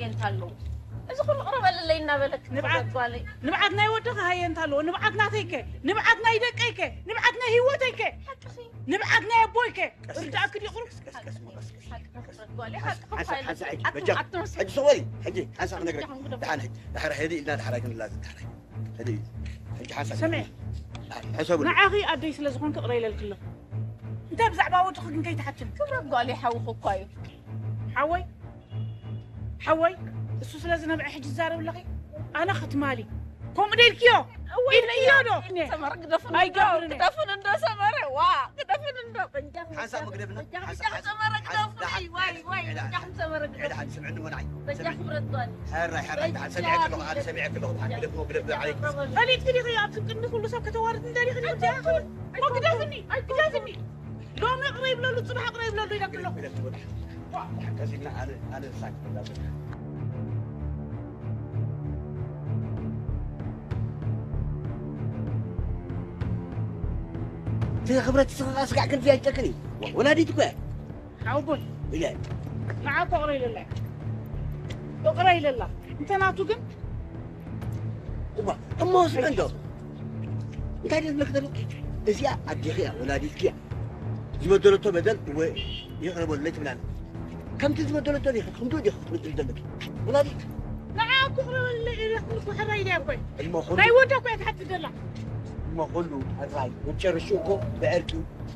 የንታ ኣለዉ። እዚ ኩሉ ቅረበለለይ እናበለክ ንብዓት፣ ጓለይ። ንብዓት ናይ ወድኺ ሃየ እንተ ኣለዎ፣ ንብዓት ናተይከ፣ ንብዓት ናይ ደቀይከ፣ ንብዓት ናይ ህይወተይከ፣ ሓቅኺ። ንብዓት ናይ ኣቦይከ፣ ቀስ፣ ርዳእኪ ድዩ ቁሩብ? ቀስ፣ ቀስ፣ ቀስ፣ ቀስ፣ ሓቅኺ ቀስ። ክብረት ጓለይ፣ ሓንሳብ፣ ሓቅኺ ሓንሳብ፣ ፋይል። ሓንሳብ፣ ሕጂ፣ ኣትወስድ። ሕጂ ሰወሪ፣ ሕጂ ሓንሳብ ክነግረኪ። ሕጂ ሓንሳብ። ደሓን፣ ሕጂ፣ ንድሓር ኣይክንላዘብ፣ ደሓር። ሕጂ፣ ሕጂ ሓንሳብ። ስምዒ። ሕሰብሉ። ንዓኺ ኣደይ ስለ ዝኾንኪ ቅረ ኢለልኪ ኣለኹ። እንታይ ብዛዕባ ወድኺ ግን ከይትሓትኒ። ክብረት ጓለይ ሓውኺ እኳ እዩ። ሓወይ፣ ሓወይ፣ እሱ ስለ ዝነብዐ ሕጂ ትዛረብ ኣለኺ? ኣነ ክትማሊ። ከምኡ ዶ ኢልክዮ? እወ፣ ኢልክዮ ዶ? ሰመረ ግደፉን እንዶ፣ ኣይገብርን እየ። ግደፉን እንዶ ሰመረ፣ ዋ፣ ግደፉን እንዶ። ሓንሳብ መግደፍና፣ በጃኹም፣ ሓንሳብ፣ በጃኹም ሰመረ ሓንሳብ፣ ግደፉን፣ ሓንሳብ፣ ዋይ፣ ዋይ፣ ሓንሳብ፣ በጃኹም ሰመረ ግደፉን። ሓንሳብ፣ ስምዕኒ ወናይ። በጃኹም ስምዕኒ። ብረት ጓል። ሕራይ፣ ሕራይ፣ በጃ፣ ሓንሳብ፣ ሰሚዐኪ ኣለኹ፣ ኣነ ሰሚዐኪ ኣለኹ፣ ሓንሳብ፣ ግደፍዎ፣ ግደፍ፣ ዓለይኪ። ፈሊጥኪ ዲኺ ኣብዚ ቅድሚ ኩሉ ሰብ ከተዋርድኒ ደሊኺ ዲኺ? በጃኹም። ግደፍኒ፣ ግደፍኒ። ሎሚ ቅረ ይብለሉ፣ ጽባሕ ቅረ ይብለሉ ኢለኪ ኣለኹ። ኢለኪ ኣለኹ። ዋ፣ ሓካዚና ኣነ፣ ኣነ ሳክ ብላ። እቲ ክብረት ስጋ ስጋዕ ክንዲ ኣይጨክን እዩ። ወላዲት እኮ እያ። ሓውቦይ። ኢለ። ንዓ እኮ ቅረ ኢለላ። እቕረ ኢለላ። እንተ ናቱ ግን እማ፣ እሞ ስምዕ እንዶ። እንታይ ደስ ዝብለክ ዘሎ? እዚኣ ኣዴኺ እያ፣ ወላዲትኪ እያ። ዝበደለቶ በደል እወ ይቕረ በሉለይ ትብላኒ። ከምቲ ዝበደለቶ ዲኺ፣ ክንዱ ዲኺ ክትምድሪ ዘለኪ? ወላዲት። ንዓ እኮ ይቕረ በሉለይ ኢለክኒ እኮ ሕራይ ኢለያ እኮ። እሞ ኩሉ ናይ ወዳ እኮ እያ ትሓትት ዘላ። እሞ ኩሉ ሕራይ መጨረሽኡ እኮ ብዕርቂ፣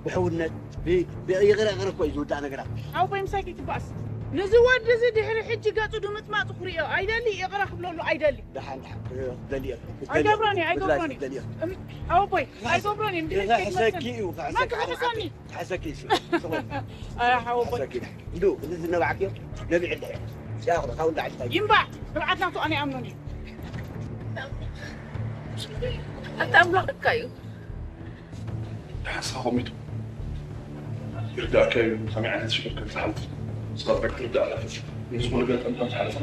ብሕውነት፣ ብ-፣ ብይቕረ ይቕረ እኮ እዩ ዝውዳእ ነገራት። ሓውቦይ ምሳይ ከይትበኣስ። ነዚ ወዲ እዚ ድሕሪ ሕጂ ገጹ ድምጽማጹ ክርእዮ ኣይደሊ፣ ይቕረ ክብለሉ ኣይደሊ። ደሓን፣ ደሓን፣ ክደሊ እየ። ኣይገብሮን እየ፣ ኣይገብሮን እየ። ክደሊ እየ። እም፣ ሓወቦይ፣ ኣይገብሮን እየ። እንድሕር ገዛ ከይትመልሰኒ። ሕሰኪ እዩ፣ መን ክሕሰካ ክሕሰኒ? ዓዲ። ሕሰኪ እዩ። ጽቡቕ። ኣረ ሓወቦይ። ሕሰኪ እዩ። እንዱ፣ እዚ ዝነባዕክዮ ነቢዕ እንድሕር። ሲያኹ፣ ካብ እንዳ ዓዲ እንታይ? ይምባዕ፣ ንብዓት ናቱ ኣነ ይኣምኖን እዩ። ኣታ ኣምላኽ እካ እዩ። ሓንሳብ ከሚቱ ይርዳእካ እዩ፣ ከመይ ዓይነት ሽግር ከም ዝሓልፍ ንስኻ ጥራይ ክትርዳእ ኣለካ። ንዝኾነ ገጠም ከም ዝሓለፈ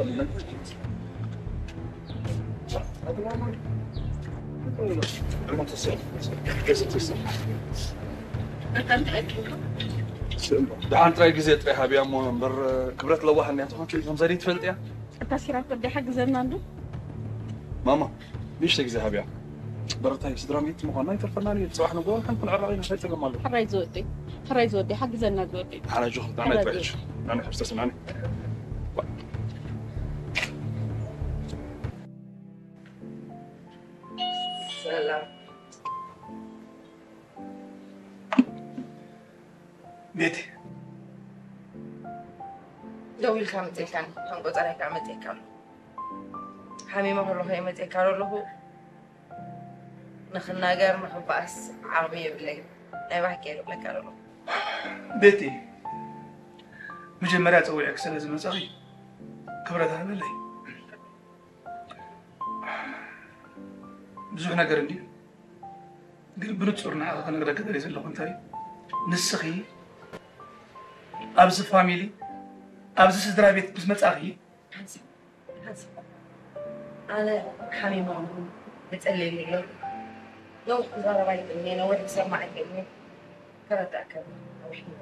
ደሓን ጥራይ ግዜ ጥራይ ሃብያ እሞ እምበር ክብረት ለዋህ እንድያ ትኾን ከም ዘድይ ትፈልጥ እያ። እታ ሲራክ ወዲ ሓግዘና እንዶ። ማማ፣ ንእሽተይ ግዜ ሃብያ። በረታይ ስድራ ቤት ምዃንና ይተርፈና እዩ። ጽባሕ ንግሆ ከም ክንዕረቕ ኢና። እንታይ ጸገም ኣሎ? ሕራይ ዝወደይ፣ ሕራይ ዝወደይ፣ ሓግዘና ዝወደይ። ሓና ጆ፣ ንዓና ሕራይ ይጥራሕ። ዝወደይ። ንዓና ሕብስተስ ንዓና። ሰላም። ቤቲ። ደው ኢልካ መጺእካኒ፣ ከም ቆጸራይ ከዓ መጺእካ ኣሎ። ሓሚመ ከለኹ እየ መጺእካ ዘለኹ። ንኽናገር፣ ንኽበኣስ ዓቕሚ የብለይን። ናይ ብሓቂ እየ ዝብለካ ዘለኹ። ቤቲ፣ መጀመርያ ጸዊዐኪ ስለ ዝመጻኺ ክብረት ሃበለይ። ብዙሕ ነገር እንድዩ፣ ግን ብንጹር ንዓኺ ክነግረኪ ደልየ ዘለኹ እንታይ እዩ፣ ንስኺ ኣብዚ ፋሚሊ፣ ኣብዚ ስድራ ቤት ምስ መጻኺ፣ ሓንሳብ፣ ሓንሳብ፣ ኣነ ሓሚመ እሞ፣ ብጸልየኒ ኣሎ። ነዊሕ ክዛረብ ኣይክእልን እየ፣ ነዊሕ ክሰምዕ ኣይክእልን እየ። ክረዳእካ ነዊሕ እዩ።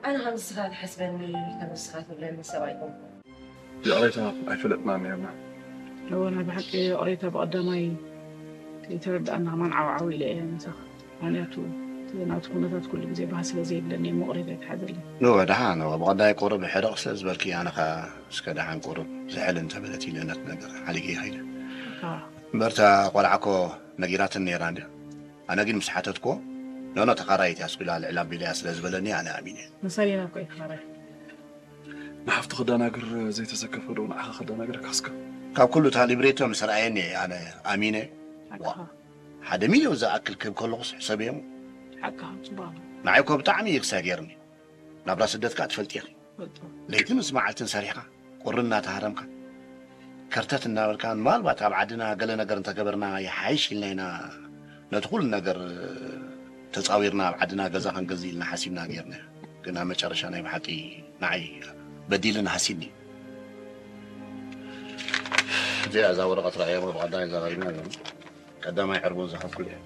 ኣነ ከም ንስኻ ትሓስበኒ፣ ከም ንስኻ ትብለኒ ሰብ ኣይኮንኩን። ይቕሬታ ኣይፈለጥናን ነይርና። እወ፣ ናይ ብሓቂ ይቕሬታ ብቐዳማይ ከይተረዳእና ከማን ዓው ዓው ኢለ እየ ምሳኻ። ምኽንያቱ እቲ ናቱ ኩነታት ኩሉ ግዜ ባህ ስለ ዘይብለኒ እየ፣ ይቕሬታ ይትሓዘለይ። እወ፣ ደሓን፣ እወ፣ ብቐዳይ ቁሩብ ሕርቕ ስለ ዝበልኪ፣ ኣነ ኸኣ እስከ ደሓን ቁሩብ ዝሕል እንተበለት ኢለ ነቲ ነገር ሓሊገ ይኸይደ። ኣዎ። እምበር እታ ቆልዓ እኮ ነጊራትኒ ነይራ እንድያ። ኣነ ግን ምስ ሓተትክዎ፣ ኖኖ፣ ተኻራይት እያ፣ ኣስኲላ ልዕል ኣቢለያ ስለ ዝበለኒ ኣነ ኣሚነ። መሳሌና እኮ እዩ ተኻራይ። ንሓፍቱ ከዳናግር ዘይተዘከፈ ዶ ንዓኻ ከዳናግረካ እስከ? ካብ ኩሉ እታ ሊብሬቶ ምስ ረኣየኒ እየ ኣነ ኣሚነ። ሓቅኻ። ዋ፣ ሓደ ሚልዮን ዝኣክል ክህብ ከለኹስ ሕሰብዮ እሞ። ሓቅኻ፣ ጽቡቕ ኣሎ። ንዓይ እኮ ብጣዕሚ እዩ ክሳይ ገይርኒ። ናብራ ስደት ከኣ ትፈልጢ ኢኺ። ፈልጦ። ለይትን ምስ መዓልትን ሰሪሕካ፣ ቁሪ እናተሃረምካ፣ ከርተት እናበልካ፣ ምናልባት ኣብ ዓድና ገለ ነገር እንተገበርና ይሓይሽ ኢልና ኢና ነቲ ኩሉ ነገር ተጻዊርና ኣብ ዓድና ገዛ ክንገዝእ ኢልና ሓሲብና ጌርና። ግን ኣብ መጨረሻ ናይ ብሓቂ ንዓይ በዲልን ሃሲኒ። እዚኣ እዛ ወረቐት ረኣያ እሞ ብቐዳማይ ዘራሪብና ኣለና። ቀዳማይ ዕርቡን ዝኸፍል እየ።